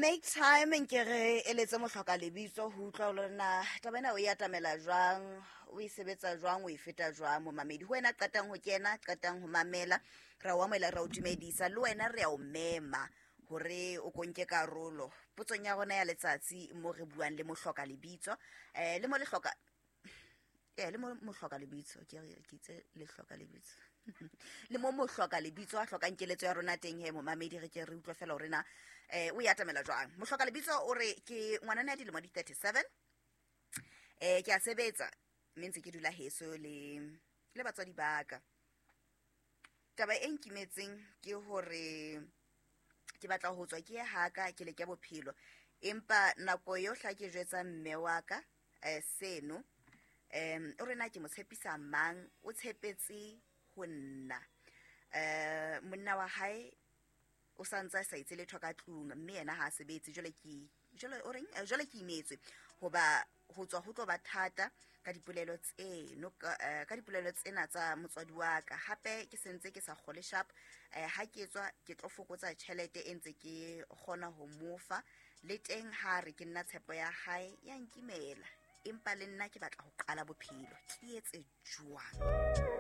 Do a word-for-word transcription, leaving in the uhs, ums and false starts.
Make time nke re eletse mohloka lebitso ho utlwa hore na taba ena o e atamela jwang, o e sebetsa jwang, o e feta jwang. Momamedi, ho wena qetang ho kena, qetang ho mamela, ra o amohela, ra o dumedisa, le wena re a o mema hore o ko nke karolo potsong ya rona ya letsatsi mo re buang le mohloka lebitso, um le mo lehloka e le mo mohloka lebitso, ke re ke itse lehloka lebitso, le mo mohloka lebitso a hlokang keletso ya rona teng. He momamedi, re ke re utlwe fela hore na um o e atamela jwang. Mohloka lebitso o re ke ngwanana ya dilemo di thirty seven, um ke a sebetsa mme ntse ke dula heso le le batswadi ba ka. Taba e nkimetseng ke hore ke batla ho tswa ke ye haka ke leke bophelo, empa nako yohle ha ke jwetsa mme wa ka um seno, um o re na ke mo tshepisa mang, o tshepetse ho nna. Um monna wa hae o santse a sa etse letho ka tlung, mme yena ha a sebetse. Jwale ke jwale o reng, Eh, jwale ke imetswe hoba ho tswa ho tlo ba thata ka dipolelo tseno ka eh, ka dipolelo tsena tsa motswadi wa ka. Hape ke sentse ke sa kgole sharp, eh, ha ke tswa ke tlo fokotsa tjhelete e ntse ke kgona ho mofa, le teng ha re ke nna tshepo ya hae ya nkimela, empa le nna ke batla ho qala bophelo, ke etse jwang?